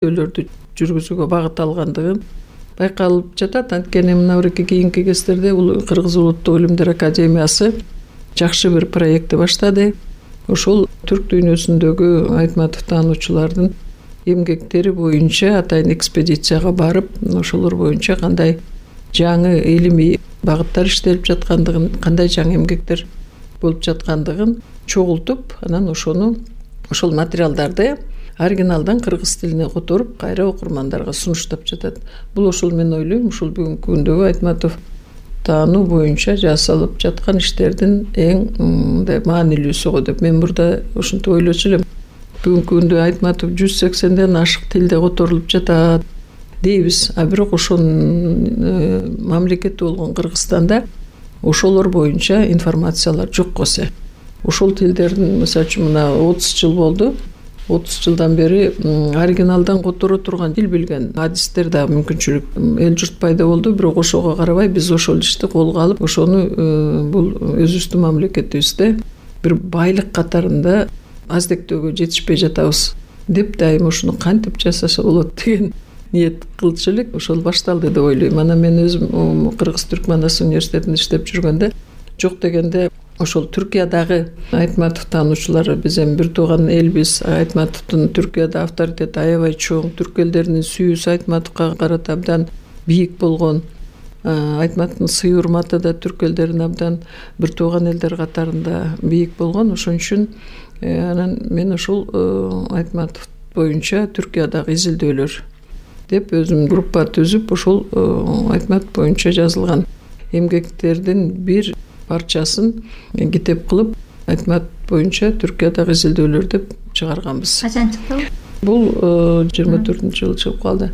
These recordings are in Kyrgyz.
изилдөөлөрдү жүргүзүүгө багыт алгандыгын байкалып жатат. Анткени мына кийинки кездерде Кыргыз Улуттук илимдер академиясы жакшы бир проектти баштады. Ошол түрк дүйнөсүндөгү Айтматов таануучулардын эмгектери боюнча атайын экспедицияга барып, ошолор боюнча кандай жаңы илимий багыттар иштелип жаткандыгын, кандай жаңы эмгектер болуп жаткандыгын чогултуп, анан ошол материалдарды оригиналдан кыргыз тилине которуп, кайра окурмандарга сунуштап жатат. Бул ошол мен ойлойм, ушул бүгүнкү күндөгү Айтматов таануу боюнча жасалып жаткан иштердин эң мындай маанилүүсү го деп мен мурда ушинтип ойлочу элем. Бүгүнкү күндө Айтматов 180ден ашык тилде которулуп жатат дейбиз. А бирок ошонун мамлекети болгон Кыргызстанда ошолор боюнча информациялар жок болсо. Ошол тилдердин, мисалы үчүн, мына 30 жыл болду. 30 жылдан бери оригиналдан которо турган тил билген адистер да мүмкүнчүлүк эл журт пайда болду. Бирок ошого карабай биз ошол ишти колго алып, ошону бул өзүбүздүн мамлекетибизде бир байлык катарында аздектөөгө жетишпей жатабыз деп дайым ушуну кантип жасаса болот деген ниет кылчу элек. Ошол башталды деп ойлойм. Анан мен өзүм Кыргыз Түркманас университетинде иштеп жүргөндө жок дегенде ошол Түркиядагы Айтматов таануучулары биз эми бир тууган элбиз. Айтматовдун Түркияда авторитети аябай чоң. Түрк элдеринин сүйүүсү Айтматовго карата абдан бийик болгон. Айтматовдун сый урматы да түрк элдерине абдан бир тууган элдер катарында бийик болгон. Ошон үчүн анан мен ошол Айтматов боюнча Түркиядагы изилдөөлөр деп өзүм группа түзүп, ошол Айтматов боюнча жазылган эмгектердин бир парчасын китеп кылып, Айтматов боюнча Түркиядагы изилдөөлөр деп чыгарганбыз. Качан чыкты бул? Бул 24-жылы чыгып калды.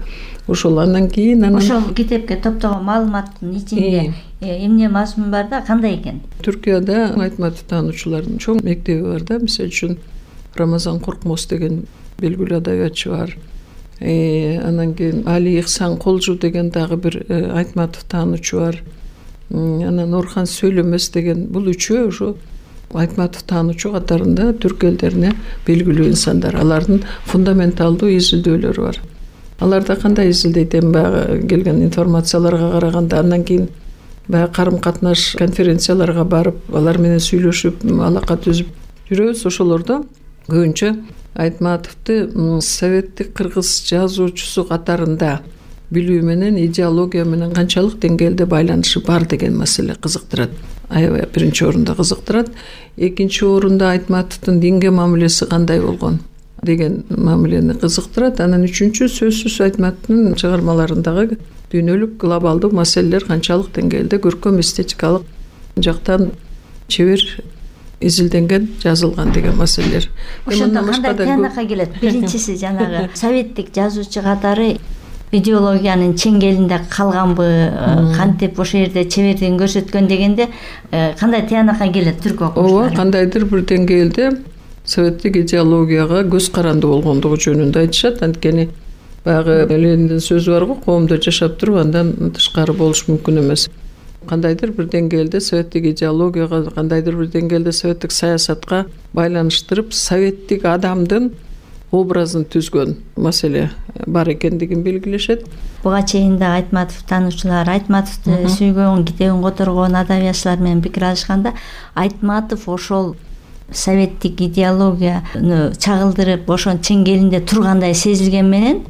Ошол андан кийин ошол китепке топтогон маалыматтын ичинде эмне мазмун бар да, кандай экен? Түркияда Айтматов таануучулардын чоң мектеби бар да. Мисалы үчүн Рамазан Коркмоз деген белгилүү адабиятчы бар. Анан кийин Али Ихсан Колжу деген дагы бир Айтматов таануучу бар. Анан Орхан Сөйлөмөс деген, бул үчөө ошо Айтматов таануучу катарында түрк элдерине белгилүү инсандар. Алардын фундаменталдуу изилдөөлөрү бар. Аларда кандай изилдейт эми баягы келген информацияларга караганда, андан кийин баягы карым-катнаш конференцияларга барып, алар менен сүйлөшүп, алака түзүп жүрөбүз. Ошолордо көбүнчө Айтматовду советтик кыргыз жазуучусу катарында билүү менен идеология менен канчалык деңгээлде байланышы бар деген маселе кызыктырат. Аябай биринчи орунда кызыктырат. Экинчи орунда Айтматовдун динге мамилеси кандай болгон деген мамилени кызыктырат. Анан үчүнчү сөзсүз Айтматовдун чыгармаларындагы дүйнөлүк глобалдуу маселелер канчалык деңгээлде көркөм эстетикалык жактан чебер изилденген, жазылган деген маселелер. Ошондо кандай тыянакка келет? Биринчиси жанагы советтик жазуучу катары идеологиянын чеңгелинде калганбы, кантип ошол жерде чебердигин көрсөткөн дегенде кандай тыянакка келет түрк окумуштары? Ооба, кандайдыр бир деңгээлде советтик идеологияга көз каранды болгондугу жөнүндө айтышат. Анткени баягы Лениндин сөзү бар го, коомдо жашап туруп андан тышкары болуш мүмкүн эмес. Кандайдыр бир деңгээлде советтик идеологияга, кандайдыр бир деңгээлде советтик саясатка байланыштырып, советтик адамдын образын түзгөн маселе бар экендигин белгилешет. Буга чейин да Айтматов таануучулар Айтматовду сүйгөн, китебин которгон адабиятчылар менен пикир алышканда, Айтматов ошол советтик идеологияны чагылдырып, ошонун чеңгелинде тургандай сезилген менен,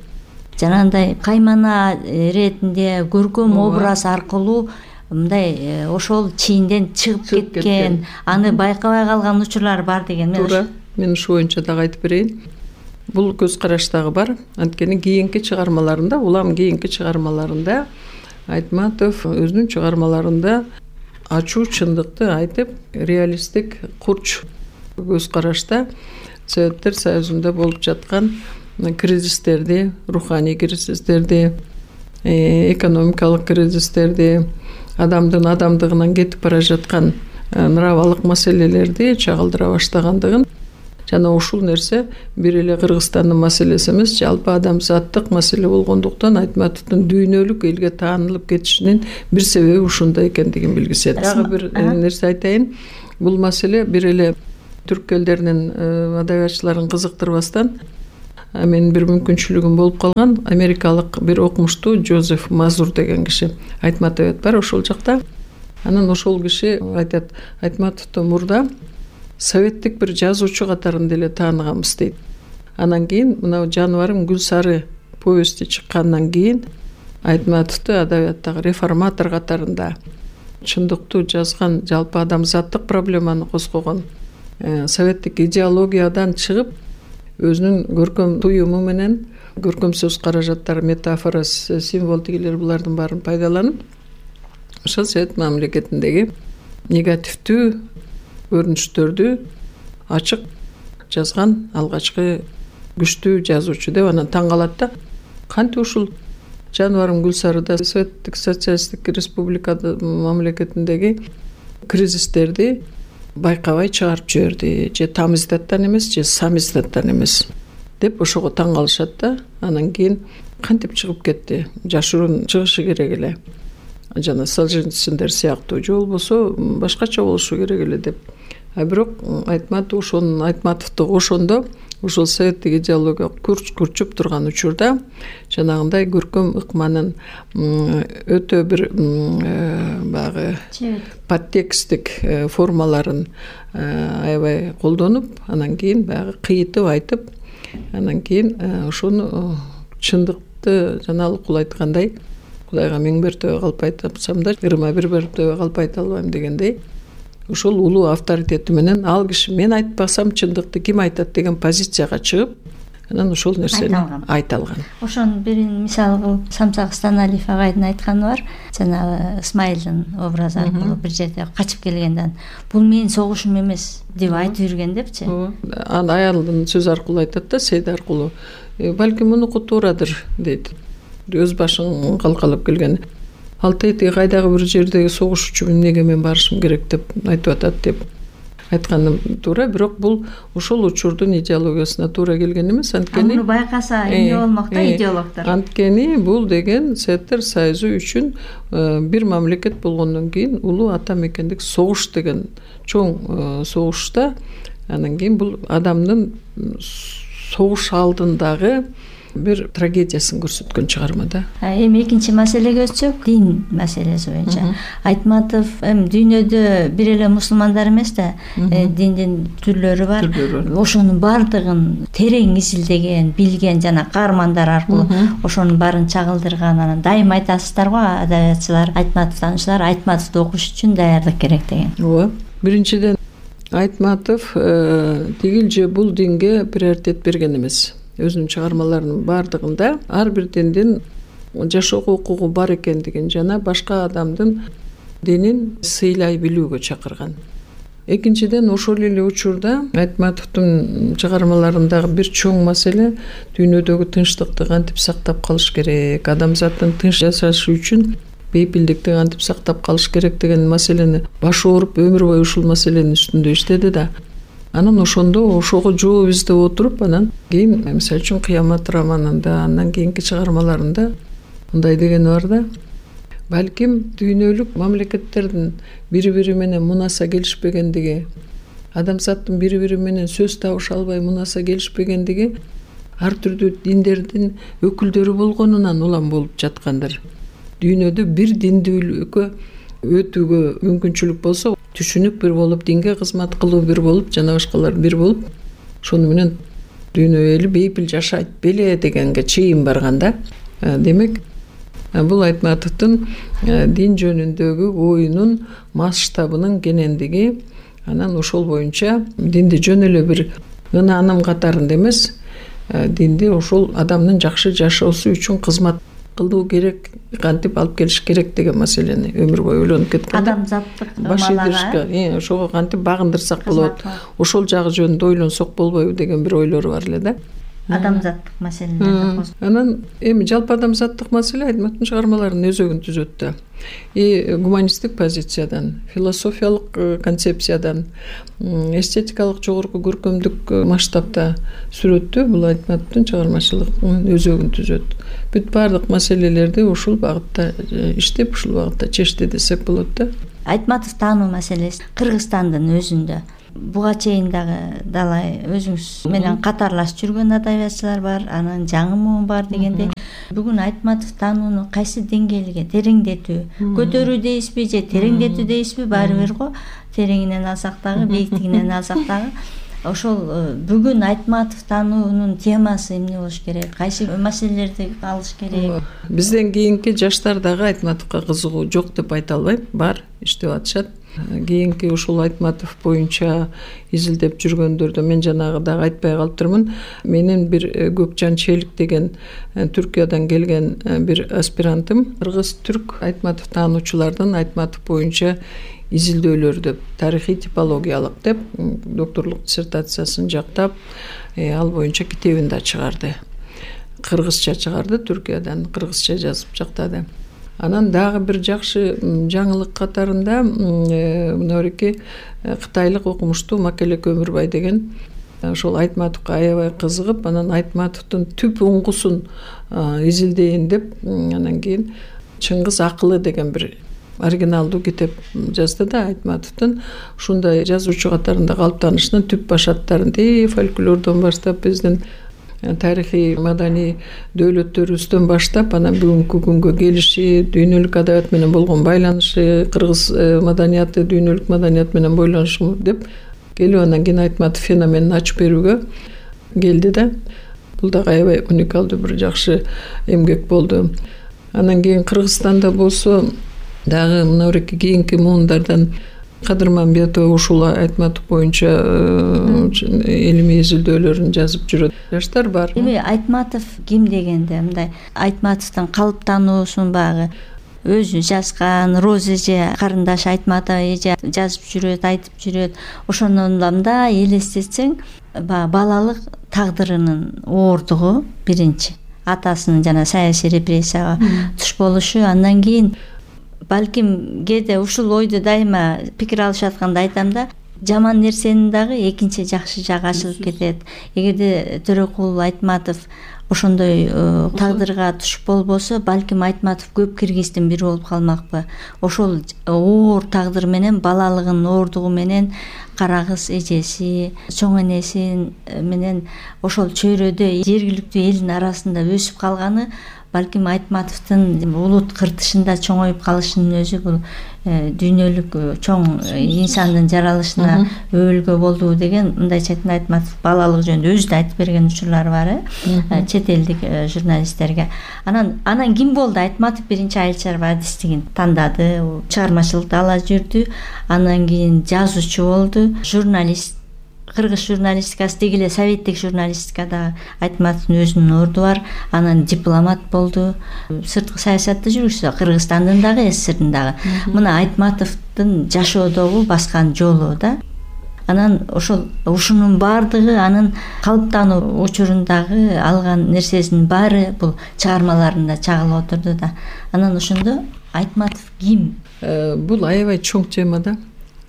жанагындай каймана иретинде көркөм образ аркылуу мындай ошол чийинден чыгып кеткен, аны байкабай калган учурлар бар деген. Туура, мен ушу боюнча дагы айтып берейин. Бул көз караш дагы бар. Анткени кийинки чыгармаларында, улам кийинки чыгармаларында Айтматов өзүнүн чыгармаларында ачуу чындыкты айтып, реалисттик курч көз карашта Советтер Союзунда болуп жаткан кризистерди, руханий кризистерди, экономикалык кризистерди, адамдын адамдыгынан кетип бара жаткан нравалык маселелерди чагылдыра баштагандыгын, жана ушул нерсе бир эле Кыргызстандын маселеси эмес, жалпы адамзаттык маселе болгондуктан Айтматовдун дүйнөлүк элге таанылып кетишинин бир себеби ушунда экендигин билгизет. Дагы бир нерсе айтайын. Бул маселе бир эле түрк элдеринин адабиятчыларын кызыктырбастан менин бир мүмкүнчүлүгүм болуп калган. Америкалык бир окумуштуу Джозеф Мазур деген киши Айтматовет бар ошол жакта. Анан ошол киши айтат, Айтматовду мурда советтик бир жазуучу катарында эле тааныганбыз дейт. Анан кийин мына жаныбарым гүл сары повести чыккандан кийин Айтматовду адабияттагы реформатор катарында чындыктуу жазган, жалпы адамзаттык проблеманы козгогон, советтик идеологиядан чыгып өзүнүн көркөм туюму менен көркөм сөз каражаттары, метафора, символ тигилер булардын баарын пайдаланып ошол совет мамлекетиндеги негативдүү көрүнүштөрдү ачык жазган алгачкы күчтүү жазуучу деп анан таң калат да. Кантип ушул жаныбарым Гүлсарыда советтик социалисттик республикада мамлекетиндеги кризистерди байкабай чыгарып жиберди, же тамиздаттан эмес, же самиздаттан эмес деп ошого таң калышат да. Анан кийин кантип чыгып кетти, жашыруун чыгышы керек эле, жана Солженициндер сыяктуу, же болбосо башкача болушу керек эле деп. Бирок Айтматов ошонун Айтматовду ошондо ушул советтик идеология күрчүп турган учурда жанагындай көркөм ыкманын өтө бир баягы подтекстик формаларын аябай колдонуп, анан кийин баягы кыйытып айтып, анан кийин ошону чындыкты жаналыкул айткандай, Кудайга миң мертебе калп айтсам да, ырыма бир мертебе калп айта албайм дегендей, ошол улуу авторитети менен ал киши мен айтпасам чындыкты ким айтат деген позицияга чыгып, анан ошол нерсени айта алган. Ошонун бирин мисал кылып Самсак Станалиев агайдын айтканы бар. Жанагы Исмайылдын образы аркылуу бир жерде качып келгенден бул менин согушум эмес деп айтып жүргөн депчи. Анан аялдын сөзү аркылуу айтат да, Сейд аркылуу. Балким мунуку туурадыр дейт. Өз башын калкалап келген. Ал тетиги кайдагы бир жердеги согушчу эмнеге мен барышым керек деп айтып атат деп айтканым туура, бирок бул ошол учурдун идеологиясына туура келген эмес. Анткени муну байкаса эмне болмок да идеологдор. Анткени бул деген Советтер Союзу үчүн бир мамлекет болгондон кийин улуу ата мекендик согуш деген чоң согушта, анан кийин бул адамдын согуш алдындагы бир трагедиясын көрсөткөн чыгарма да. Эми экинчи маселеге өтсөк, дин маселеси боюнча. Айтматов дүйнөдө бир эле мусулмандар эмес да, диндин түрлөрү бар. Ошонун бардыгын терең изилдеген, билген жана каармандар аркылуу ошонун баарын чагылдырган. Анан дайым айтасыздар го адабиятчылар, Айтматовтануучулар Айтматовду окуш үчүн даярдык керек деген. Ооба. Биринчиден Айтматов тигил же бул динге приоритет берген эмес. Өзүнүн чыгармаларынын бардыгында ар бир диндин жашоого укугу бар экендигин жана башка адамдын динин сыйлай билүүгө чакырган. Экинчиден, ошол эле учурда Айтматовдун чыгармаларындагы бир чоң маселе дүйнөдөгү тынчтыкты кантип сактап калыш керек, адамзаттын тынч жашашы үчүн бейпилдикти кантип сактап калыш керек деген маселени башы ооруп өмүр бою ушул маселенин үстүндө иштеди да. Анан ошондо ошого жооп издеп отуруп, анан кийин мисалы үчүн Кыямат романында, андан кийинки чыгармаларында мындай дегени бар да. Балким дүйнөлүк мамлекеттердин бири-бири менен мунаса келишпегендиги, адамзаттын бири-бири менен сөз табыша албай мунаса келишпегендиги ар түрдүү диндердин өкүлдөрү болгонунан улам болуп жаткандыр. Дүйнөдө бир диндүүлүккө өтүүгө мүмкүнчүлүк болсо, түшүнүк бир болуп, динге кызмат кылуу бир болуп, жана башкалар бир болуп, ошону менен дүйнө эли бейпил жашайт беле дегенге чейин барган да. Демек, бул Айтматовдун дин жөнүндөгү оюнун масштабынын кенендиги, анан ошол боюнча динди жөн эле бир ынааным катарында эмес, динди ошол адамдын жакшы жашоосу үчүн кызмат кылуу керек, кантип алып келиш керек деген маселени өмүр бою ойлонуп кеткен. Адамзаттык ымалага, ошого кантип багындырсак болот, ошол жагы жөнүндө ойлонсок болбойбу деген бир ойлору бар эле да. Адамзаттык маселелерди. Анан эми жалпы адамзаттык маселе Айтматовдун чыгармаларынын өзөгүн түзөт да. Гуманисттик позициядан, философиялык концепциядан, эстетикалык жогорку көркөмдүк масштабта сүрөттө бул Айтматовдун чыгармачылыгынын өзөгүн түзөт. Бүт баардык маселелерди ушул багытта иштеп, ушул багытта чечти десек болот да. Айтматов таануу маселеси Кыргызстандын өзүндө буга чейин дагы далай өзүңүз менен катарлаш жүргөн адабиятчылар бар, анан жаңы муун бар дегендей. Бүгүн Айтматов таанууну кайсы деңгээлге тереңдетүү, көтөрүү дейсизби же тереңдетүү дейсизби, баары бир го. Тереңинен алсак дагы, бийиктигинен алсак дагы. Ошол бүгүн Айтматов таануунун темасы эмне болуш керек? Кайсы маселелерди алыш керек? Бизден кийинки жаштар дагы Айтматовго кызыгуу жок деп айта албайм, бар, иштеп атышат. Кийинки ушул Айтматов боюнча изилдеп жүргөндөрдө мен жанагы дагы айтпай калыптырмын. Менин бир Көкжан Челик деген Түркиядан келген бир аспирантым кыргыз-түрк Айтматов таануучулардын Айтматов боюнча изилдөөлөрдү тарыхый типологиялык деп докторлук диссертациясын жактап, ал боюнча китебин да чыгарды. Кыргызча чыгарды, Түркиядан кыргызча жазып жактады. Анан дагы бир жакшы жаңылык катарында мынабеки кытайлык окумуштуу Макелек Өмүрбай деген ошол Айтматовго аябай кызыгып, анан Айтматовдун түп уңгусун изилдейин деп, анан кийин Чыңгыз акылы деген бир оригиналдуу китеп жазды да Айтматовдун. Ушундай жазуучу катарында калыптанышынын түп башаттарын фольклордон баштап, биздин тарыхый маданий дөөлөттөрүбүздөн баштап, анан бүгүнкү күнгө келиши, дүйнөлүк адабият менен болгон байланышы, кыргыз маданияты дүйнөлүк маданият менен байланышы деп келип, анан кийин Айтматов феноменин ачып берүүгө келди да. Бул дагы аябай уникалдуу бир жакшы эмгек болду. Анан кийин Кыргызстанда болсо дагы мынабеки кийинки муундардан Кадырмамбетова ушул Айтматов боюнча илимий изилдөөлөрүн жазып жүрөт жаштар бар. Эми Айтматов ким дегенде мындай Айтматовдун калыптануусун багы өзү жазган Роза эже, карындаш Айтматова эже жазып жүрөт, айтып жүрөт. Ошондон да мындай элестетсең, балалык тагдырынын оордугу биринчи. Атасынын жана саясий репрессияга туш болушу, андан кийин балким кээде ушул ойду дайыма пикир алышып атканда айтам да, жаман нерсенин дагы экинчи жакшы жагы ачылып кетет. Эгерде Төрөкул Айтматов ошондой тагдырга туш болбосо, балким Айтматов көп киргиздин бири болуп калмакпы. Ошол оор тагдыр менен, балалыгынын оордугу менен кара кыз эжеси, чоң энеси менен ошол чөйрөдө жергиликтүү элдин арасында өсүп калганы балким Айтматовдун улут кыртышында чоңоюп калышынын өзү бул дүйнөлүк чоң инсандын жаралышына өбөлгө болду деген мындайча айтканда Айтматов балалык жөнүндө өзү да айтып берген учурлары бар чет элдик журналисттерге. Анан ким болду? Айтматов биринчи айыл чарба адистигин тандады, чыгармачылыкты ала жүрдү, анан кийин жазуучу болду, журналист. Кыргыз журналистикасы деги эле советтик журналистикада Айтматовдун өзүнүн орду бар. Анан дипломат болду, сырткы саясатты жүргүздү, Кыргызстандын дагы, СССРдин дагы. Мына Айтматовдун жашоодогу баскан жолу да. Анан ушунун баардыгы анын калыптануу учурундагы алган нерсесинин баары бул чыгармаларында чагылып отурду да. Анан ошондо Айтматов ким? Бул аябай чоң тема да.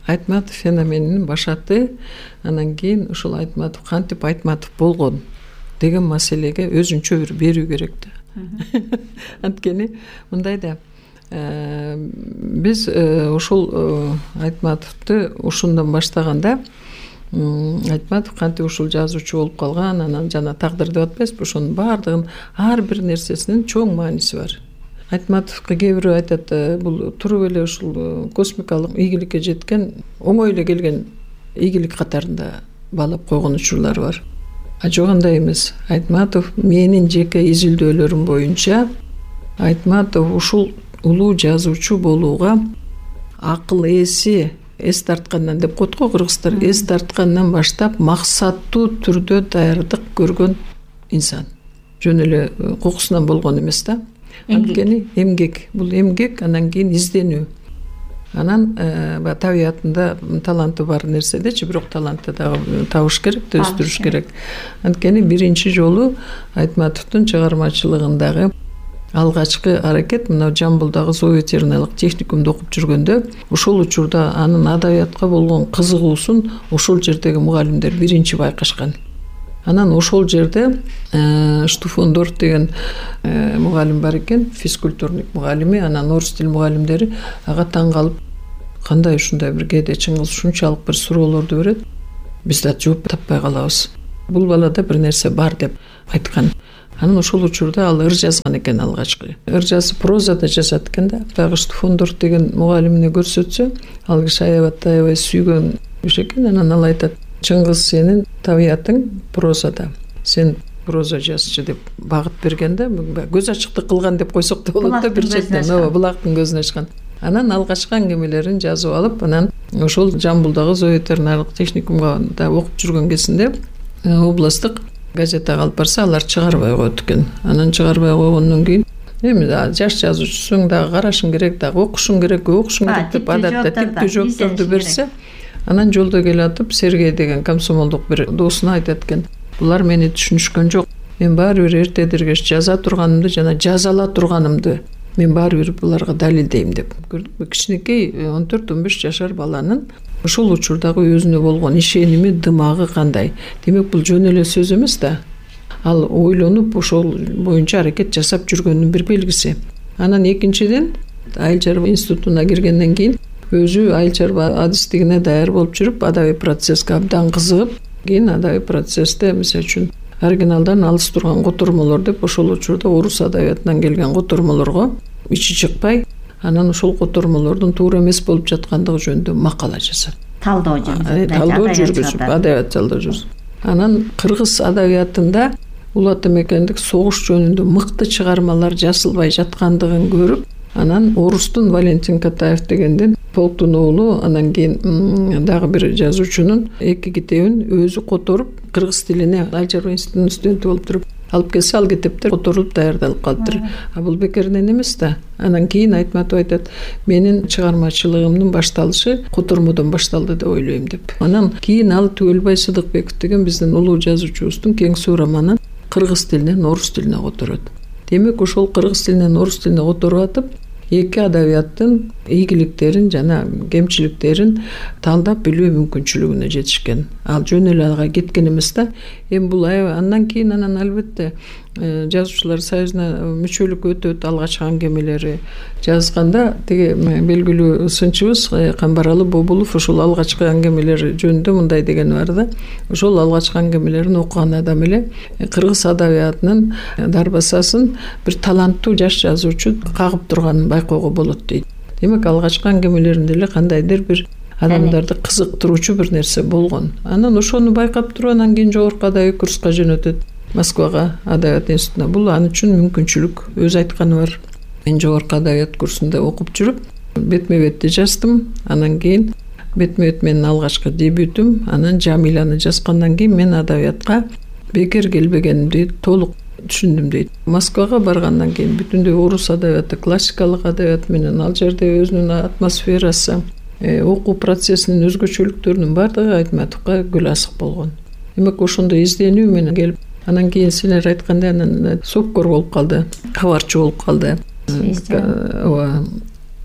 Айтматов феноменинин башаты, анан кийин ушул Айтматов кантип Айтматов болгон деген маселеге өзүнчө бир берүү керек да. Анткени мындай да, биз ушул Айтматовду ушундан баштаганда, Айтматов кантип ушул жазуучу болуп калган, анан жана тагдыр деп атпайсызбы, ошонун баардыгынын ар бир нерсесинин чоң мааниси бар. Айтматовго кээ бирөө айтат, бул туруп эле ушул космикалык ийгиликке жеткен, оңой эле келген ийгилик катарында баалап койгон учурлар бар. Жок, андай эмес. Айтматов менин жеке изилдөөлөрүм боюнча Айтматов ушул улуу жазуучу болууга акыл эси эс тарткандан деп коет го кыргыздар, эс тарткандан баштап максаттуу түрдө даярдык көргөн инсан. Жөн эле кокусунан болгон эмес да. Анткени эмгек, бул эмгек, анан кийин изденүү. Анан табиятында таланты бар нерседечи, бирок талантты дагы табыш керек, өстүрүш керек. Анткени биринчи жолу Айтматовдун чыгармачылыгындагы алгачкы аракет мына Жамбылдагы зоо ветериналык техникумда окуп жүргөндө, ошол учурда анын адабиятка болгон кызыгуусун ошол жердеги мугалимдер биринчи байкашкан. Анан ошол жерде Штуфондорф деген мугалим бар экен, физкультурник мугалими, анан орус тил мугалимдери ага таң калып, кандай ушундай бир кээде Чыңгыз ушунчалык бир суроолорду берет. биз да жооп таппай калабыз. Бул балада бир нерсе бар деп айткан. Анан ошол учурда ал ыр жазган экен алгачкы. Ыр жазып прозада жазат экен да. Байгыш Фондор деген мугалимине көрсөтсө, ал киши аябай сүйгөн киши экен. Анан ал айтат: "Чыңгыз, сенин табиятың прозада. Сен проза жазчы" деп багыт берген да. Көз ачыктык кылган деп койсок да болот да, бир четтен. Ооба, булактын көзүн ачкан. Анан алгачкы аңгемелерин жазып алып, анан ошол Жамбылдагы зооветеринарлык техникумга да окуп жүргөн кезинде областтык газетага алып барса, алар чыгарбай коет экен. Анан чыгарбай койгондон кийин эми жаш жазуучусуң дагы карашың керек, дагы окушуң керек деп адатта типтүү жоопторду берсе, анан жолдо келатып Сергей деген комсомолдук бир досуна айтат экен: "Булар мени түшүнүшкөн жок. Мен баары бир эртедиргеш жаза турганымды жана жазала турганымды мен баары бир буларга далилдейм" деп. Кичинекей 14-15 жашар баланын ошол учурдагы өзүнө болгон ишеними, дымагы кандай. Демек бул жөн эле сөз эмес да. Ал ойлонуп ошол боюнча аракет жасап жүргөнүнүн бир белгиси. Анан экинчиден, айыл чарба институтуна киргенден кийин өзү айыл чарба адистигине даяр болуп жүрүп, адабий процесске абдан кызыгып, кийин адабий процессте мисалы үчүн оригиналдан алыс турган котормолор деп ошол учурда орус адабиятынан келген котормолорго ичи чыкпай, анан ошол котормолордун туура эмес болуп жаткандыгы жөнүндө макала жазат. Талдоо жүргүзүп, адабият талдоо жүргүзүп. Анан кыргыз адабиятында Улуу Ата Мекендик согуш жөнүндө мыкты чыгармалар жазылбай жаткандыгын көрүп, анан орустун Валентин Катаев дегенден полктун уулу, анан кийин дагы бир жазуучунун 2 китебин өзү которуп, кыргыз тилине айыл чарба институтунун студенти болуп туруп алып келсе, ал китептер которулуп даярдалып калыптыр. Бул бекеринен эмес да. Анан кийин Айтматов айтат: "Менин чыгармачылыгымдын башталышы котормодон башталды деп ойлойм" деп. Анан кийин ал Түгөлбай Сыдыкбеков деген биздин улуу жазуучубуздун Кең суу романын кыргыз тилинен орус тилине которот. Демек ошол кыргыз тилинен орус тилине которуп атып, эки адабияттын ийгиликтерин жана кемчиликтерин талдап билүү мүмкүнчүлүгүнө жетишкен. Ал жөн эле ага кеткен эмес да. Эми бул андан кийин албетте жазуучулар союзуна мүчөлүк өтөт, алгачкы аңгемелери жазганда тиги белгилүү сынчыбыз Камбаралы Бобулов ошол алгачкы аңгемелери жөнүндө мындай деген бар да. Ошол алгачкы аңгемелерин окуган адам эле кыргыз адабиятынын дарбасасын бир таланттуу жаш жазуучу кагып турганын байкоого болот дейт. Демек алгачкы аңгемелеринде эле кандайдыр бир адамдарды кызыктыруучу бир нерсе болгон. Анан ошону байкап туруп, анан кийин жогорку адабий курска жөнөтөт. Москвага адабият институтуна. Бул аны үчүн мүмкүнчүлүк. Өзү айтканы бар. Мен жогорку адабият курсунда окуп жүрүп, бетме-бетти жаздым. Анан кийин бетме-бет менин алгачкы дебютум. Анан Жамиланы жазгандан кийин мен адабиятка бекер келбегенимди толук түшүндүм дейт. Москвага баргандан кийин бүтүндөй орус адабияты, классикалык адабият менен ал жерде өзүнүн атмосферасы, окуу процессинин өзгөчөлүктөрүнүн баардыгы Айтматовго гүл асык болгон. Демек ошондой изденүү менен келип, анан кийин силер айткандай анан сопкор болуп калды, кабарчы болуп калды. Ооба,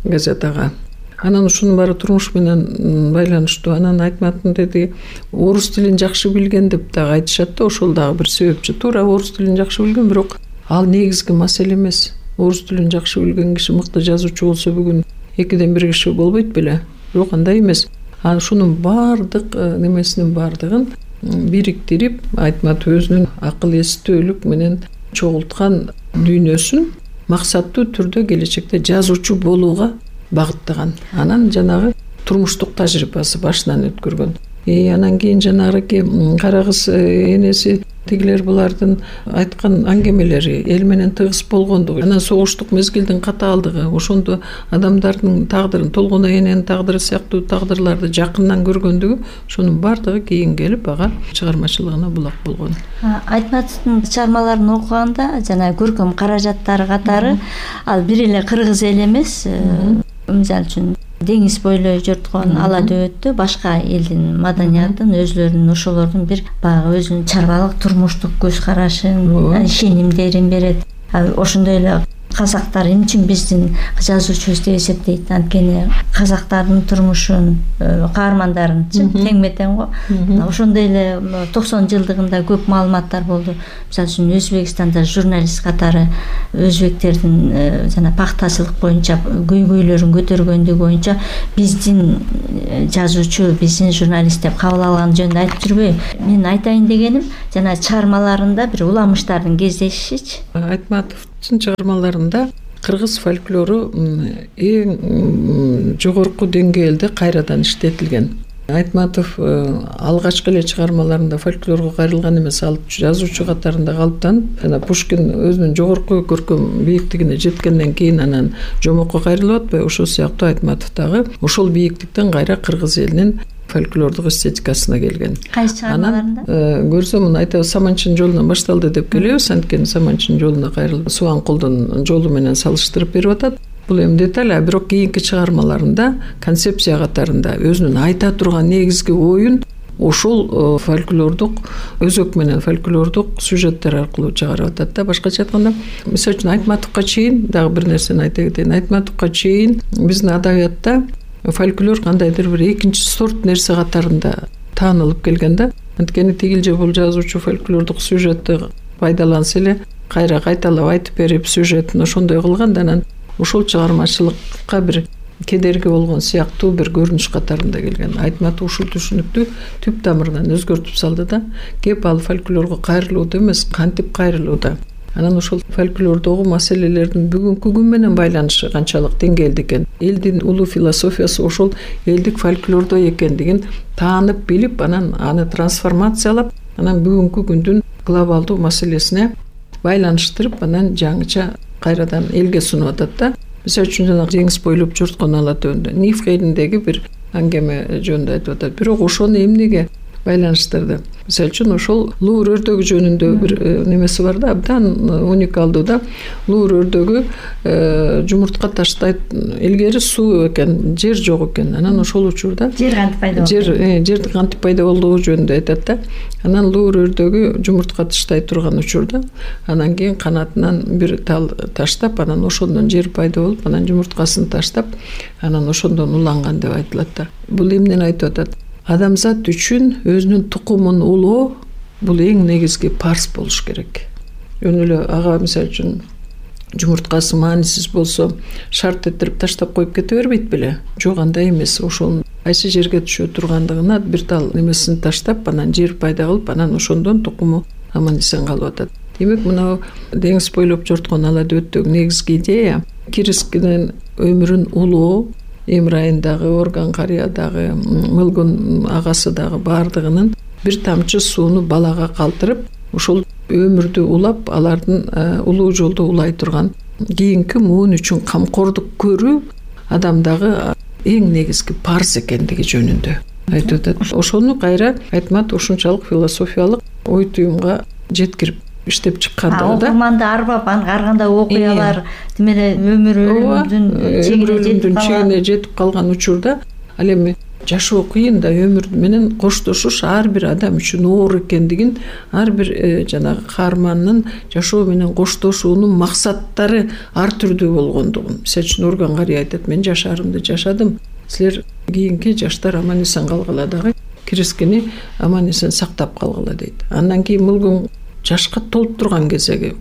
газетага. Анан ушунун баары турмуш менен байланыштуу. Анан Айтматовдун деди орус тилин жакшы билген деп дагы айтышат да, ошол дагы бир себепчи. Туура орус тилин жакшы билген, бирок ал негизги маселе эмес. Орус тилин жакшы билген киши мыкты жазуучу болсо бүгүн 2ден 1 киши болбойт беле. Бирок андай эмес. Ушунун баардык немесинин баардыгын бириктирип, Айтматов өзүнүн акыл эстөөлүк менен чогулткан дүйнөсүн максаттуу түрдө келечекте жазуучу болууга багыттаган. Анан жанагы турмуштук тажрыйбасы башынан өткөргөн. Анан кийин жанагы кара кыз энеси тигилер булардын айткан аңгемелери эл менен тыгыз болгондугу, анан согуштук мезгилдин катаалдыгы, ошондо адамдардын тагдырын, Толгон эненин тагдыры сыяктуу тагдырларды жакындан көргөндүгү, ошонун баардыгы кийин келип ага чыгармачылыгына булак болгон. Айтматовдун чыгармаларын окуганда жана көркөм каражаттары катары ал бир эле кыргыз эли эмес, мисалы үчүн деңиз бойлой жорткон ала дөбөттө башка элдин маданиятын, өзлөрүнүн ошолордун бир баягы өзүнүн чарбалык турмуштук көз карашын, ишенимдерин берет. Ошондой эле казактар эмне үчүн биздин жазуучубуз деп эсептейт. Анткени казактардын турмушун, каармандарынчы теңме тең го. Ошондой эле 90 жылдыгында көп маалыматтар болду. Мисалы үчүн Өзбекстанда журналист катары өзбектердин жана пактачылык боюнча көйгөйлөрүн көтөргөндүгү боюнча биздин жазуучу, биздин журналист деп кабыл алган жөнүндө айтып жүрбөйбү. Мен айтайын дегеним, жана чыгармаларында бир уламыштардын кездешишичи. Айтматовдун чыгармаларында кыргыз фольклору эң жогорку деңгээлде кайрадан иштетилген. Айтматов алгачкы эле чыгармаларында фольклорго кайрылган эмес, ал жазуучу катарында калыптанып, жана Пушкин өзүнүн жогорку көркөм бийиктигине жеткенден кийин анан жомокко кайрылып атпайбы, ошол сыяктуу Айтматов дагы ошол бийиктиктен кайра кыргыз элинин фольклордук эстетикасына келген. Кайсы чыгармаларында? Көрсөм муну айтабыз, Саманчынын жолунан башталды деп келебиз. Анткени Саманчынын жолуна кайрылып, Субанкулдун жолу менен салыштырып берип атат. Бул эми деталь, бирок кийинки чыгармаларында концепция катарында өзүнүн айта турган негизги оюн ошол фольклордук өзөк менен фольклордук сюжеттер аркылуу чыгарып атат да. Башкача айтканда, мисалы үчүн Айтматовго чейин дагы бир нерсени айта кетейин. Айтматовго чейин биздин адабиятта фольклор кандайдыр бир экинчи сорт нерсе катарында таанылып келген да. Анткени тигил же бул жазуучу фольклордук сюжетти пайдаланса эле кайра кайталап айтып берип, сюжетин ошондой кылган да, анан ошол чыгармачылыкка бир кедерги болгон сыяктуу бир көрүнүш катарында келген. Айтматов ушул түшүнүктү түп тамырынан өзгөртүп салды да. Кеп ал фольклорго кайрылууда эмес, кантип кайрылууда. Анан ошол фольклордогу маселелердин бүгүнкү күн менен байланышы канчалык деңгээлде экен, элдин улуу философиясы ошол элдик фольклордо экендигин таанып билип, анан аны трансформациялап, анан бүгүнкү күндүн глобалдуу маселесине байланыштырып, анан жаңыча кайрадан элге сунуп атат да. Мисалы үчүн жана деңиз бойлоп жорткон ала төбөндө Нифхейдиндеги бир аңгеме жөнүндө айтып атат. Бирок ошону эмнеге байланыштырды? Мисалы үчүн ошол луур өрдөгү жөнүндө бир немеси бар да, абдан уникалдуу да. Луур өрдөгү жумуртка таштайт, илгери суу экен, жер жок экен. Анан ошол учурда жер кантип пайда болду? Жер кантип пайда болдугу жөнүндө айтат да. Анан луур өрдөгү жумуртка таштай турган учурда анан кийин канатынан бир тал таштап, анан ошондон жер пайда болуп, анан жумурткасын таштап, анан ошондон уланган деп айтылат да. Бул эмнени айтып атат? Адамзат үчүн өзүнүн тукумун улоо бул эң негизги парз болуш керек. Жөн эле ага мисалы үчүн жумурткасы маанисиз болсо шарт этирип таштап коюп кете бербейт беле? Жок, андай эмес. Ошол кайсы жерге түшө тургандыгына бир тал немесин таштап, анан жер пайда кылып, анан ошондон тукуму аман эсен калып атат. Демек, мына деңиз бойлоп жорткон ала дөбөттөгү негизги идея Кирискинин өмүрүн улоо, Эмрайын дагы, Орган карыя дагы, Мылгун агасы дагы баардыгынын бир тамчы сууну балага калтырып, ошол өмүрдү улап, алардын улуу жолдо улай турган кийинки муун үчүн камкордук көрүү адамдагы эң негизги парз экендиги жөнүндө айтып атат. Ошону кайра Айтматов ушунчалык философиялык ой туюмга жеткирип иштеп чыккандыгы да. Окурманды арбап, ар кандай окуялар демеле өмүрүмдүн чегине жетип калган учурда, ал эми жашоо кыйын да, өмүр менен коштошуш ар бир адам үчүн оор экендигин, ар бир жанагы каармандын жашоо менен коштошуунун максаттары ар түрдүү болгондугун. Мисалы үчүн Орган карыя айтат: мен жашарымды жашадым, силер кийинки жаштар аман эсен калгыла дагы, Кирискини аман эсен сактап калгыла дейт. Андан кийин Мылгун жашка толуп турган кезеги,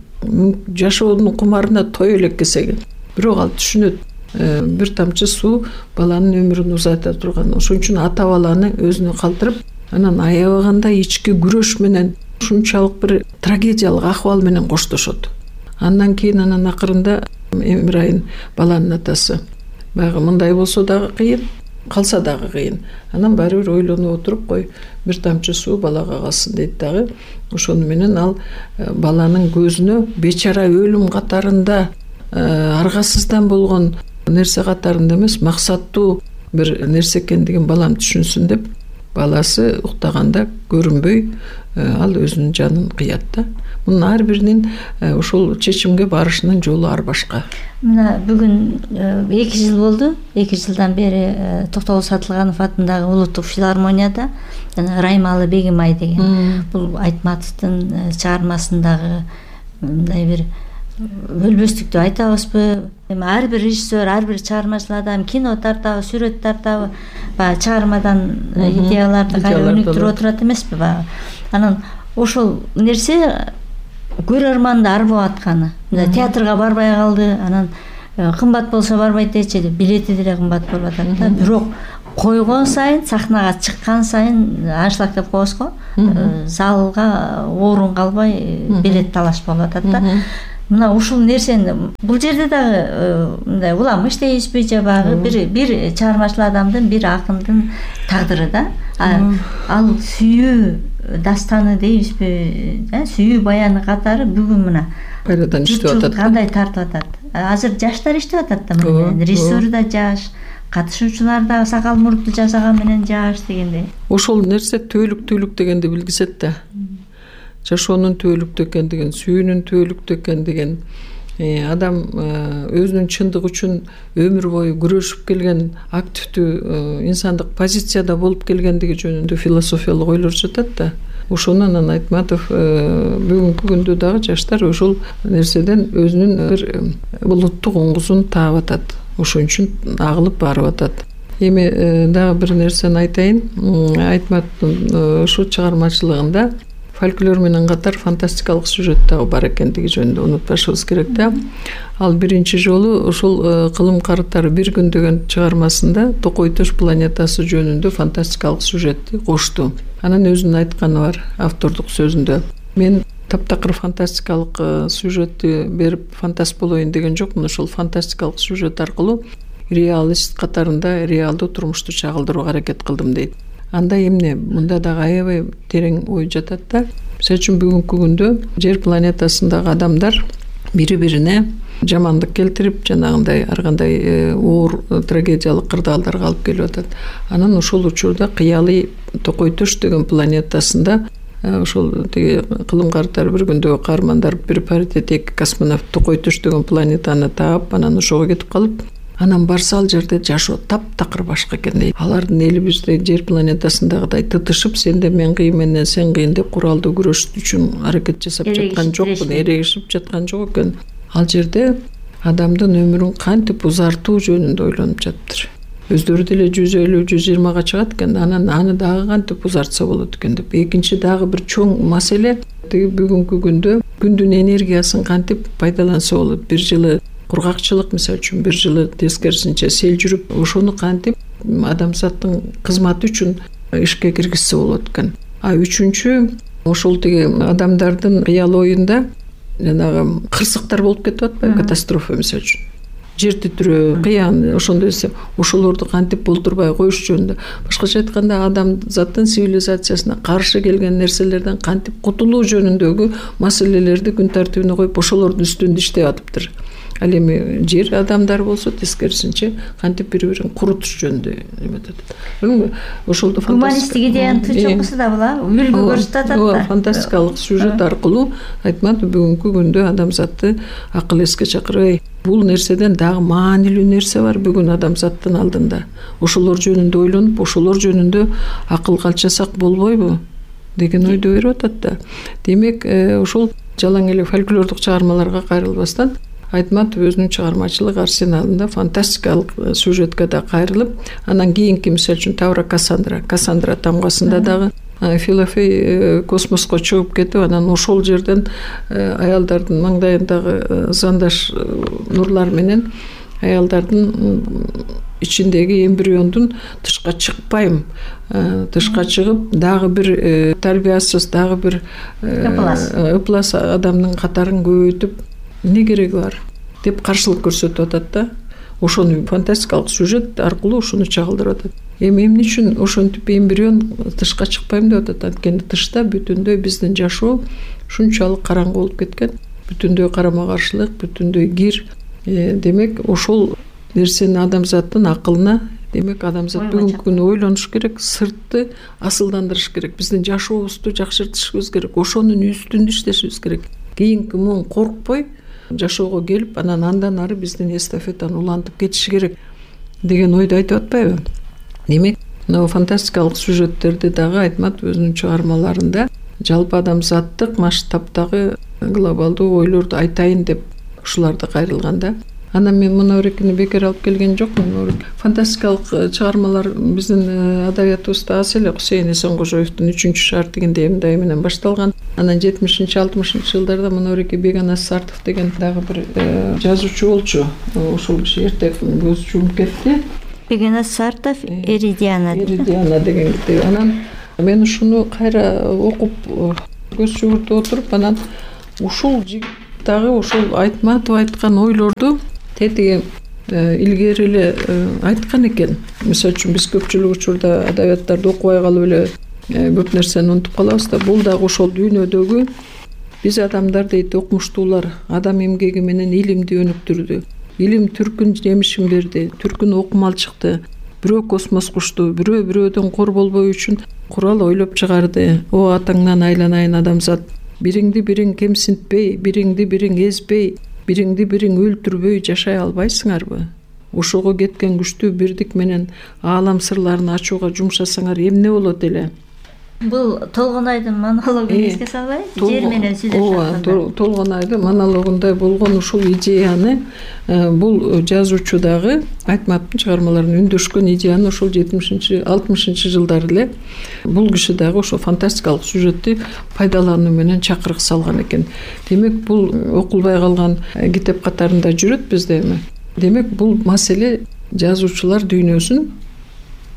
жашоонун кумарына той элек кезеги. Бирок ал түшүнөт, бир тамчы суу баланын өмүрүн узайта турган. Ошон үчүн ата баланы өзүнө калтырып, анан аябаганда ички күрөш менен ушунчалык бир трагедиялык акыбал менен коштошот. Андан кийин анан акырында Эмрайын баланын атасы, баягы мындай болсо дагы кыйын, калса дагы кыйын. Анан баары бир ойлонуп отуруп, кой, бир тамчы суу балага калсын дейт дагы. Ошону менен ал баланын көзүнө бечара өлүм катарында, аргасыздан болгон нерсе катарында эмес, максаттуу бир нерсе экендигин балам түшүнсүн деп, баласы уктаганда көрүнбөй ал өзүнүн жанын кыят да. Мунун ар биринин ошол чечимге барышынын жолу ар башка. Мына бүгүн 2 жыл болду. 2 жылдан бери Токтогул Сатылганов атындагы улуттук филармонияда жана Раймалы Бегимай деген бул Айтматовдун чыгармасындагы мындай бир өлбөстүктү айтабызбы? Эми ар бир режиссер, ар бир чыгармачыл адам кино тартабы, сүрөт тартабы, баягы чыгармадан идеяларды кайра өнүктүрүп отурат эмеспи баягы. Анан ошол нерсе көрөрманды арбап атканы. Театрга барбай калды, анан кымбат болсо барбайт дечи, билети деле кымбат болуп атат да. Бирок койгон сайын, сахнага чыккан сайын аншлаг деп коебуз го, залга орун калбай билет талаш болуп атат да. Мына ушул нерсени бул жерде дагы мындай улам иштейбизби же баягы бир чыгармачыл адамдын, бир акындын тагдыры да. Ал сүйүү дастаны дейбизби, сүйүү баяны катары бүгүн мына кайрадан иштеп атат. Кандай тартып атат. Азыр жаштар иштеп атат да, мына режиссер да жаш, катышуучулар да сакал мурту жасаган менен жаш дегендей. Ошол нерсе түбөлүк дегенди билгизет да. Жашоонун түбөлүктүү экендигин, сүйүүнүн түбөлүктүү экендигин, адам өзүнүн чындыгы үчүн өмүр бою күрөшүп келген активдүү инсандык позицияда болуп келгендиги жөнүндө философиялык ойлор жатат да. Ошону анан Айтматов бүгүнкү күндө дагы жаштар ошол нерседен өзүнүн бир улуттук оңгусун таап атат. Ошон үчүн агылып барып атат. Эми дагы бир нерсени айтайын. Айтматовдун ушу чыгармачылыгында фольклор менен катар фантастикалык сюжет дагы бар экендиги жөнүндө унутпашыбыз керек да. Ал биринчи жолу ушул Кылым карытары бир күн деген чыгармасында Токой Төш планетасы жөнүндө фантастикалык сюжетти кошту. Анан өзүнүн айтканы бар автордук сөзүндө. Мен таптакыр фантастикалык сюжетти берип фантаст болоюн деген жокмун. Ошол фантастикалык сюжет аркылуу реалист катарында реалдуу турмушту чагылдырууга аракет кылдым дейт. Анда эмне? Мында дагы аябай терең ой жатат да. Мисалы үчүн бүгүнкү күндө жер планетасындагы адамдар бири-бирине жамандык келтирип, жанагындай ар кандай оор трагедиялык кырдаалдарга алып келип атат. Анан ошол учурда кыялый Токой Төш деген планетасында ошол тиги Кылым карытары бир күндөгү каармандар бир паритет эки космонавт Токой Төш деген планетаны таап, анан ошого кетип калып, анан барса ал жерде жашоо таптакыр башка экен дейт. Алардын эли бизде жер планетасындагыдай тытышып, сенде мен кыйын менен сен кыйын деп куралдуу күрөш үчүн аракет жасап жаткан жокпун, эрегишип жаткан жок экен. Ал жерде адамдын өмүрүн кантип узартуу жөнүндө ойлонуп жатыптыр. Өздөрү деле 150-120га чыгат экен, анан аны дагы кантип узартса болот экен деп. Экинчи дагы бир чоң маселе тиги бүгүнкү күндө күндүн энергиясын кантип пайдаланса болот. Бир жылы кургакчылык, мисалы үчүн бир жылы тескерисинче сел жүрүп, ошону кантип адамзаттын кызматы үчүн ишке киргизсе болот экен. Үчүнчү, ошол тиги адамдардын кыял оюнда жанагы кырсыктар болуп кетип атпайбы, катастрофа мисалы үчүн. Жер титирөө, кыян, ошондой нерсе, ошолорду кантип болтурбай коюш жөнүндө. Башкача айтканда, адамзаттын цивилизациясына каршы келген нерселерден кантип кутулуу жөнүндөгү маселелерди күн тартибине коюп, ошолордун үстүндө иштеп атыптыр. Ал эми жер адамдар болсо тескерисинче кантип бири-бирин курутуш жөнүндө эметет. Ошолду гуманисттик идеянын тычокусу да була, үлгү көрсөтүп атат да. Фантастикалык сюжет аркылуу Айтматов бүгүнкү күндө адамзатты акыл эске чакырып, бул нерседен дагы маанилүү нерсе бар бүгүн адамзаттын алдында. Ошолор жөнүндө ойлонуп, ошолор жөнүндө акыл калчасак болбойбу деген ойду берип атат да. Демек, ошол жалаң эле фольклордук чыгармаларга кайрылбастан Айтматов өзүнүн чыгармачылык арсеналында фантастикалык сюжетке да кайрылып, анан кийинки мисалы үчүн Тавра Кассандра тамгасында дагы Филофей космоско чыгып кетип, анан ошол жерден аялдардын маңдайындагы зандаш нурлар менен аялдардын ичиндеги эмбриондун тышка чыкпайм, тышка чыгып, дагы бир тарбиясыз, дагы бир ыплас адамдын катарын көбөйтүп эмне кереги бар деп каршылык көрсөтүп атат да. Ошону фантастикалык сюжет аркылуу ушуну чагылдырып атат. Эмне үчүн ошентип эмбрион тышка чыкпайм деп атат? Анткени тышта бүтүндөй биздин жашоо ушунчалык караңгы болуп кеткен, бүтүндөй карама каршылык, бүтүндөй кир. Демек, ошол нерсени адамзаттын акылына, демек адамзат бүгүнкү күнү ойлонуш керек, сыртты асылдандырыш керек, биздин жашообузду жакшыртышыбыз керек, ошонун үстүндө иштешибиз керек. Кийинки муун коркпой жашоого келип, анан андан ары биздин эстафетаны улантып кетиши керек деген ойду айтып атпайбы? Демек, мына фантастикалык сюжеттерди дагы Айтматов өзүнүн чыгармаларында жалпы адамзаттык масштабдагы глобалдуу ойлорду айтайын деп ушуларда кайрылганда. Анан мен Мунаурекини бекер алып келген жокмун. Фантастикалык чыгармалар биздин адабиятыбызда аз эле. Кусейин Эсенкожоевдун 3 шаар деген Эмдай менен башталган. Анан 70-60 жылдарда Мунауреки Беганас Сартов деген дагы бир жазуучу болчу. Ошол киши эрте көз жумуп кетти. Беганас Сартов Эридиана деген китеби. Анан мен ушуну кайра окуп көз жүгүртүп отуруп, анан ушул жигит дагы ошол Айтматов айткан ойлорду тетиги илгери эле айткан экен. Мисалы үчүн биз көпчүлүк учурда адабияттарды окубай калып эле көп нерсени унутуп калабыз да. Бул дагы ошол дүйнөдөгү биз адамдар дейт, окумуштуулар адам эмгеги менен илимди өнүктүрдү. Илим түркүн жемишин берди, түркүн окумал чыкты. Бирөө космос кушту, бирөө бирөөдөн кор болбоо үчүн курал ойлоп чыгарды. О атаңнан айланайын адамзат, бириңди бириң кемсинтпей, бириңди бириң эзбей, бириңди бириң өлтүрбөй жашай албайсыңарбы? Ошого кеткен күчтүү бирдик менен аалам сырларын ачууга жумшасаңар эмне болот эле? Бул Толгонайдын монологун эске салбайбы? Жер менен сүйлөшөт. Толгонайдын монологунда болгон ушул идеяны бул жазуучу дагы Айтматовдун чыгармаларына үндөшкөн идеяны ошол 70-60 жылдары эле бул киши дагы ошо фантастикалык сюжетти пайдалануу менен чакырык салган экен. Демек бул окулбай калган китеп катарында жүрөт бизде эми. Демек бул маселе жазуучулар дүйнөсүн,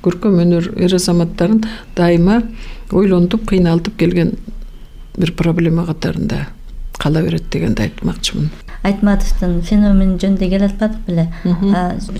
көркөм өнөр эр-азаматтарын дайыма ойлонтуп, кыйналтып келген бир проблема катарында кала берет дегенди айтмакчымын. Айтматовдун феномен жөнүндө келе атпадык беле?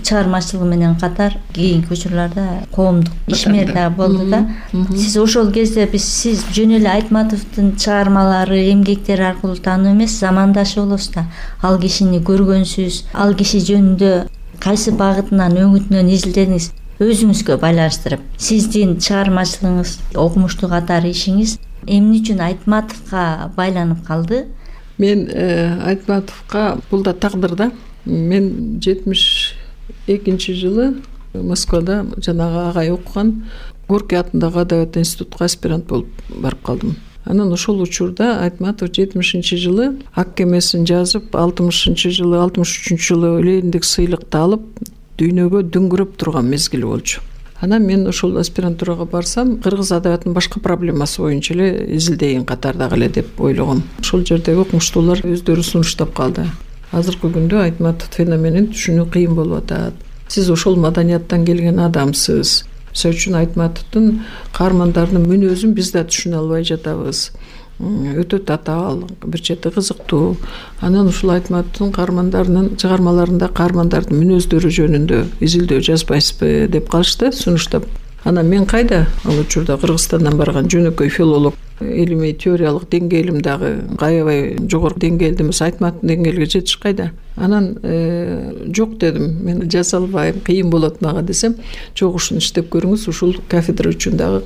Чыгармачылыгы менен катар кийинки учурларда коомдук ишмер да болду да. Сиз ошол кезде сиз жөн эле Айтматовдун чыгармалары, эмгектери аркылуу таануу эмес, замандашы болосуз да. Ал кишини көргөнсүз, ал киши жөнүндө кайсы багытынан, өңүтүнөн изилдедиңиз? Өзүңүзгө байланыштырып, сиздин чыгармачылыгыңыз, окумуштуу катар ишиңиз эмне үчүн Айтматовго байланып калды? Мен Айтматовго бул да тагдыр да. Мен 72 жылы Москвада жанагы агай окуган Горький атындагы адабият институтуна аспирант болуп барып калдым. Анан ошол учурда Айтматов 70 жылы Ак кемесин жазып, 60 жылы, 63 жылы Лениндик сыйлыкты алып, дүйнөгө дүңгүрөп турган мезгили болчу. Анан мен ошол аспирантурага барсам, кыргыз адабиятынын башка проблемасы боюнча эле изилдейин катардагы эле деп ойлогом. Ошол жердеги окумуштуулар өздөрү сунуштап калды. Азыркы күндө Айтматов феноменин түшүнүү кыйын болуп атат. Сиз ошол маданияттан келген адамсыз. Мисалы үчүн Айтматовдун каармандарынын мүнөзүн биз да түшүнө албай жатабыз. Өтө татаал, бир чети кызыктуу. Анан ушул Айтматовдун каармандарынын чыгармаларында каармандардын мүнөздөрү жөнүндө изилдөө жазбайсызбы деп калышты, сунуштап. Анан мен кайда ал учурда Кыргызстандан барган жөнөкөй филолог, илимий теориялык деңгээлим дагы аябай жогорку деңгээлде эмес, Айтматовдун деңгээлге жетиш кайда. Анан жок дедим, мен жаза албайм, кыйын болот мага десем, жок ушуну иштеп көрүңүз, ушул кафедра үчүн дагы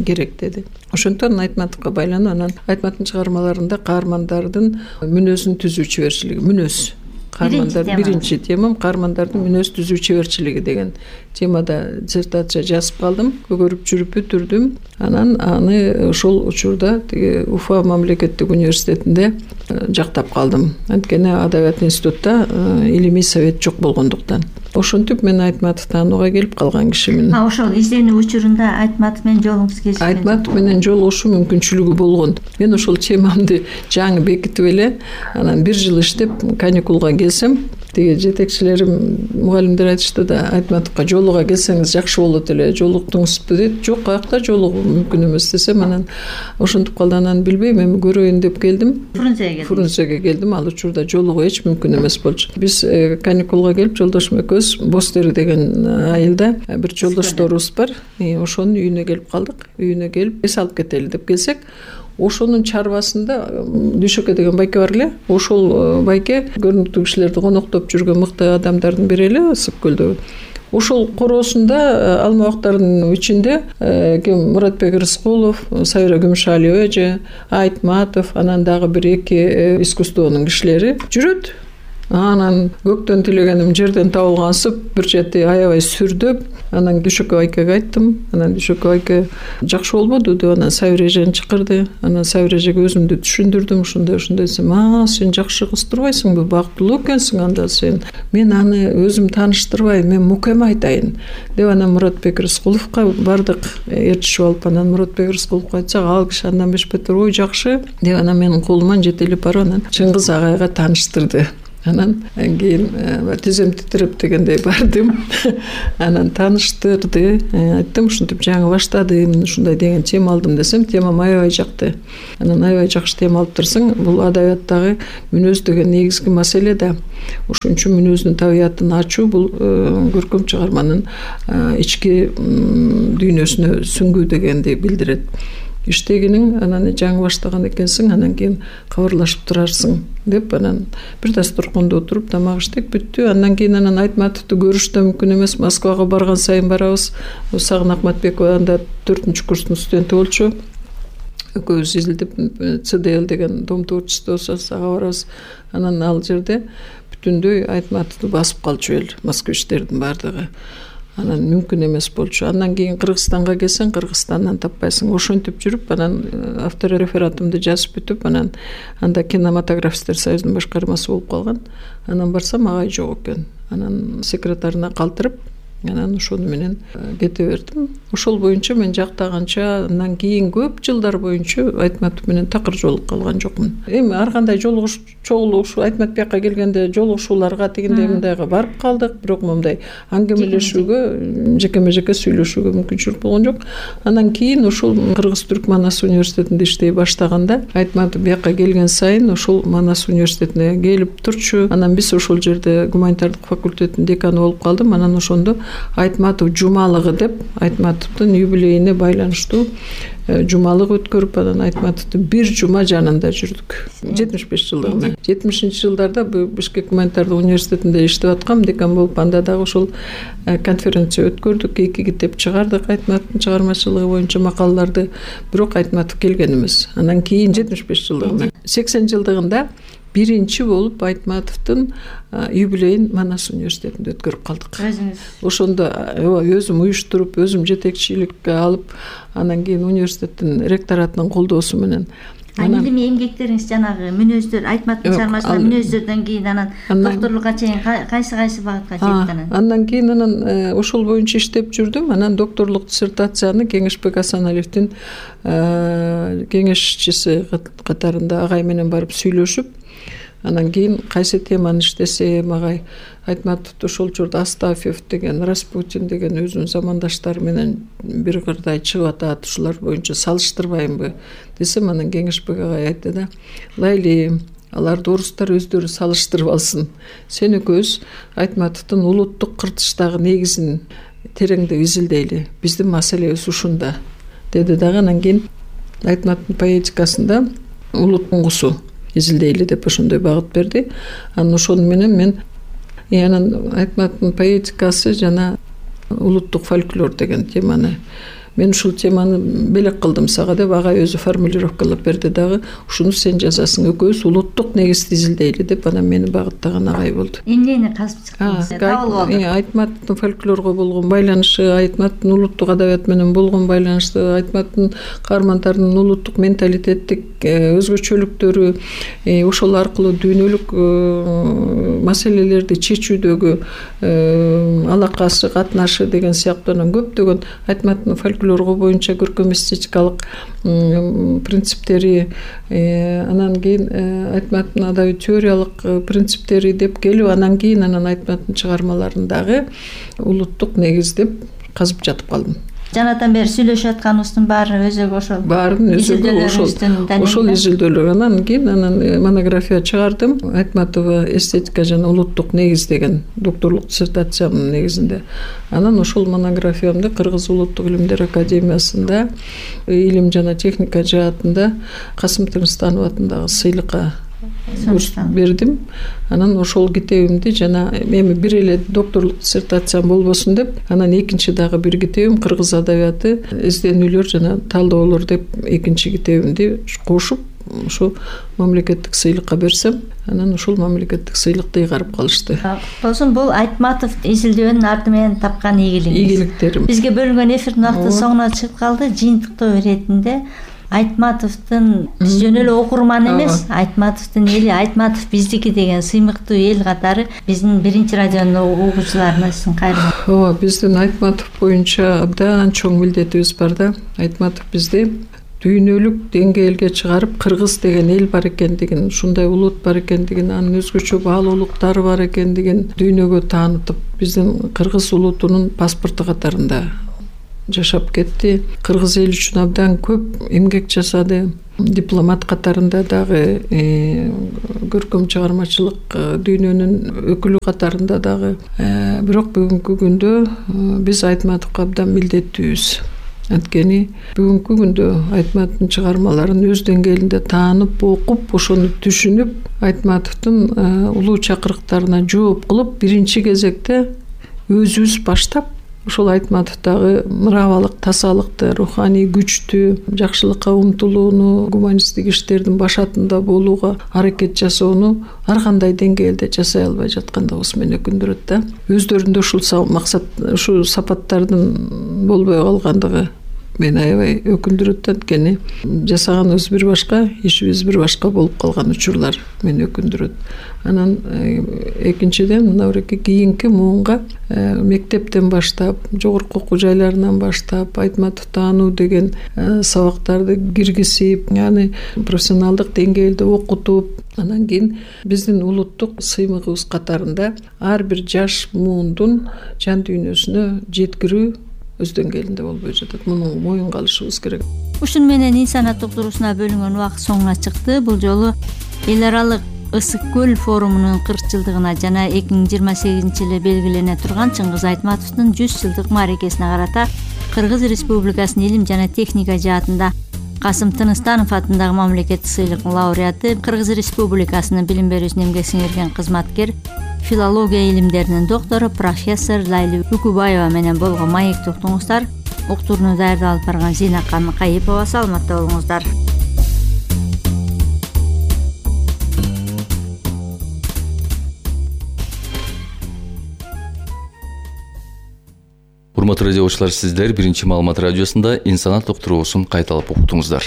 керек деди. Ошондон Айтматовго байланып, анан Айтматовдун чыгармаларында каармандардын мүнөзүн түзүү чеберчилиги, мүнөз. Биринчи темам каармандардын мүнөз түзүү чеберчилиги деген темада диссертация жазып калдым, көгөрүп жүрүп бүтүрдүм. Анан аны ошол учурда Уфа мамлекеттик университетинде жактап калдым. Анткени адабият институтта илимий совет жок болгондуктан. Ошентип мен Айтматов таанууга келип калган кишимин. Ошол изденүү учурунда Айтматов менен жолуңуз кесишкен? Айтматов менен жолугушуу мүмкүнчүлүгү болгон. Мен ошол темамды жаңы бекитип эле, анан 1 жыл иштеп каникулга келсем, тиги жетекчилерим, мугалимдер айтышты да, Айтматовго жолуга келсеңиз жакшы болот эле, жолуктуңузбу дейт. Жок, каякта жолугуу мүмкүн эмес десем, анан ошентип калды. Анан билбейм, эми көрөйүн деп келдим. Фрунзеге келдим. Ал учурда жолугуу эч мүмкүн эмес болчу. Биз каникулга келип, жолдошум экөөбүз Бостери деген айылда бир жолдошторубуз бар. Ошонун үйүнө келип калдык. Үйүнө келип, эс алып кетели деп келсек, ошонун чарбасында Дүйшөкө деген байке бар эле. Ошол байке көрүнүктүү кишилерди коноктоп жүргөн мыкты адамдардын бири эле, Ысык көлдөгү. Ошол короосунда алма бактарынын ичинде Муратбек Рыскулов, Сайра Күмүшалиева эже, Айтматов, анан дагы 1-2 искусствонун кишилери жүрөт. Анан көктөн тилегеним жерден табылгансып бир чети аябай сүрдөп, анан Дүйшөкөй айкеге айттым. Анан Дүйшөкөй айке жакшы болбоду деп анан Сабир эжени чакырды. Анан Сабир эжеге өзүмдү түшүндүрдүм. Ушундай десем, сен жакшы кыз турбайсыңбы, бактылуу экенсиң анда сен. Мен аны өзүм тааныштырбайм, мен мукеме айтайын деп анан Муратбек Рыскуловго бардык, ээрчишип алып, анан Муратбек Рыскуловго айтсак, ал киши андан бешбетер ой жакшы деп анан менин колуман жетелеп барып анан Чыңгыз агайга тааныштырды. Анан кийин тизем титиреп дегендей бардым. Анан тааныштырды. Айттым, ушинтип жаңы баштадым, ушундай деген тема алдым десем, темам аябай жакты. Анан аябай жакшы тема алып турсаң, бул адабияттагы мүнөз деген негизги маселе да. Ошон үчүн мүнөздүн табиятын ачуу бул көркөм чыгарманын ички дүйнөсүнө сүңгүү дегенди билдирет. Иштегиниң анан жаңы баштаган экенсиң, анан кийин кабарлашып турарсың деп анан бир дасторкондо отуруп тамак иштеп бүттү. Андан кийин анан Айтматовду көрүш да мүмкүн эмес. Москвага барган сайын барабыз. Сагын Акматбекова анда 4-курстун студенти болчу. Экөөбүз изилдеп ЦДЛ деген дом творчества сага барабыз. Анан ал жерде бүтүндөй Айтматовду басып калчу эл, москвичтердин баардыгы. Анан мүмкүн эмес болчу. Андан кийин Кыргызстанга келсең, Кыргызстандан таппайсың. Ошентип жүрүп, анан авторефератымды жазып бүтүп, анан анда кинематографисттер союзунун башкармасы болуп калган. Анан барсам, агай жок экен. Анан секретарына калтырып, анан ошону менен кете бердим. Ошол боюнча мен жактаганча, андан кийин көп жылдар боюнча Айтматов менен такыр жолугуп калган жокмун. Эми ар кандай чогулушу Айтматов бияка келгенде жолугушууларга тигиндей мындайга барып калдык, бирок мындай аңгемелешүүгө, жекеме-жеке сүйлөшүүгө мүмкүнчүлүк болгон жок. Андан кийин ошол Кыргыз-Түрк Манас университетинде иштей баштаганда Айтматов бияка келген сайын ошол Манас университетине келип турчу. Анан биз ошол жерде гуманитардык факультеттин деканы болуп калдым. Анан ошондо Айтматов жумалыгы деп, Айтматовдун юбилейине байланыштуу жумалык өткөрүп, анан Айтматовду бир жума жанында жүрдүк. 75 жылдыгына. 70-жылдарда Бишкек гуманитардык университетинде иштеп аткам, декан болуп, анда дагы ошол конференция өткөрдүк, 2 китеп чыгардык Айтматовдун чыгармачылыгы боюнча макалаларды, бирок Айтматов келген эмес. Анан кийин 75 жылдыгына, 80 жылдыгында биринчи болуп Айтматовдун юбилейин Манас университетинде өткөрүп калдык. Ошондо өзүм уюштуруп, өзүм жетекчиликке алып, анан кийин университеттин ректоратынын колдоосу менен. Эми эмгектериңиз жанагы мүнөздөр, Айтматовдун чыгармачылыгы мүнөздөрдөн кийин анан докторлукка чейин кайсы багытка жетти анан? Андан кийин анан ошол боюнча иштеп жүрдүм. Анан докторлук диссертацияны Кеңешбек Асаналиевдин кеңешчиси катарында агай менен барып сүйлөшүп, анан кийин кайсы теманы иштесем, агай Айтматовду ошол жерде Астафьев деген, Распутин деген өзүнүн замандаштары менен бир кырдай чыгып атат, ушулар боюнча салыштырбаймбы десем, анан Кеңешбек агай айтты да, Лайли, аларды орустар өздөрү салыштырып алсын. Сен экөөбүз Айтматовдун улуттук кыртыштагы негизин тереңдеп изилдейли. Биздин маселебиз ушунда деди дагы. Анан кийин Айтматовдун поэтикасында улут туңгусу изилдейли деп ошондой багыт берди. Анан ошону менен мен анан Айтматовдун поэтикасы жана улуттук фольклор деген теманы, мен ушул теманы белек кылдым сага деп агай өзү формулировкалап берди дагы. Ушуну сен жазасың, экөөбүз улуттук негизди изилдейли деп анан мени багыттаган агай болду. Эмнени казып чыктыңыз? Айтматовдун фольклорго болгон байланышы, Айтматовдун улуттук адабият менен болгон байланышы, Айтматовдун каармандарынын улуттук менталитеттик өзгөчөлүктөрү, ошол аркылуу дүйнөлүк маселелерди чечүүдөгү алакасы, катнашы деген сыяктуу көптөгөн Айтматовдун фольклорго боюнча көркөм эстетикалык принциптери, анан кийин Айтматовдун адабий теориялык принциптери деп келип, анан кийин анан Айтматовдун чыгармаларындагы улуттук негиз деп казып жатып калдым. Жанатан бери сүйлөшүп атканыбыздын баары өзөгү ошол. Баарын өзөгү ошол изилдөөлөр. Анан кийин монография чыгардым. Айтматова эстетика жана улуттук негиз деген докторлук диссертациямдын негизинде. Анан ошол монографиямды Кыргыз улуттук илимдер академиясында илим жана техника жаатында Касым Тырныстанов атындагы сыйлыкка бердим. Анан ошол китебимди жана эми бир эле докторлук диссертациям болбосун деп, анан экинчи дагы бир китебим Кыргыз адабияты изденүүлөр жана талдоолор деп экинчи китебимди кошуп ушу мамлекеттик сыйлыкка берсем, анан ушул мамлекеттик сыйлыкты ыйгарып калышты. Болсун, бул Айтматов изилдөөнүн арды менен тапкан ийгиликтерим. Бизге бөлүнгөн эфирдин убакыты соңуна чыгып калды. Жыйынтыктоо иретинде Айтматовдун биз жөн эле окурман эмес, Айтматовдун эли, Айтматов биздики деген сыймыктуу эл катары биздин биринчи радионун угуучуларына сиздин кайрылган. Ооба, биздин Айтматов боюнча абдан чоң милдетибиз бар да. Айтматов бизди дүйнөлүк деңгээлге чыгарып, кыргыз деген эл бар экендигин, ушундай улут бар экендигин, анын өзгөчө баалуулуктары бар экендигин дүйнөгө таанытып, биздин кыргыз улутунун паспорту катарында жашап кетти. Кыргыз эл үчүн абдан көп эмгек жасады. Дипломат катарында дагы, көркөм чыгармачылык дүйнөнүн өкүлү катарында дагы. Бирок бүгүнкү күндө биз Айтматовго абдан милдеттүүбүз. Анткени бүгүнкү күндө Айтматовдун чыгармаларын өз деңгээлинде таанып, окуп, ошону түшүнүп, Айтматовдун улуу чакырыктарына жооп кылып, биринчи кезекте өзүбүз баштап, ошол Айтматовдагы мыравалык, тазалыкты, руханий күчтү, жакшылыкка умтулууну, гуманисттик иштердин башатында болууга аракет жасоону ар кандай деңгээлде жасай албай жаткандыгыбыз мени өкүндүрөт да. Өздөрүндө ушул максат, ушул сапаттардын болбой калгандыгы мени аябай өкүндүрөт. Анткени жасаганыбыз бир башка, ишибиз бир башка болуп калган учурлар мени өкүндүрөт. Анан экинчиден, мына кийинки муунга мектептен баштап, жогорку окуу жайларынан баштап Айтматов таануу деген сабактарды киргизип, аны профессионалдык деңгээлде окутуп, анан кийин биздин улуттук сыймыгыбыз катарында ар бир жаш муундун жан дүйнөсүнө жеткирүү өз деңгээлинде болбой жатат. Муну моюнга алышыбыз керек. Ушуну менен инсаният доктурусуна бөлүнгөн убакыт соңуна чыкты. Бул жолу эл аралык Ысык көл форумунун 40 жылдыгына жана 2028-жылы белгилене турган Чыңгыз Айтматовдун 100 жылдык мааракесине карата Кыргыз Республикасынын илим жана техника жаатында Касым Тыныстанов атындагы мамлекеттик сыйлыктын лауреаты, Кыргыз Республикасынын билим берүүсүнө эмгек сиңирген кызматкер, филология илимдеринин доктору профессор Лайли Үкүбаева менен болгон маекти уктуңуздар. Уктурууну даярдап алып барган Зейнакан Кайыпова. Саламатта болуңуздар. Урматтуу радиочулар, сиздер биринчи маалымат радиосунда инсаният доктуруусун кайталап уктуңуздар.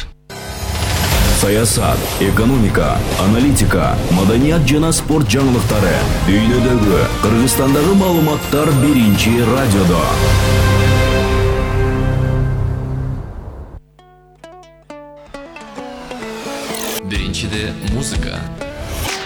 Саясат, экономика, аналитика, маданият жана спорт жаңылыктары, дүйнөдөгү, Кыргызстандагы маалыматтар биринчи радиодо. Биринчиде музыка.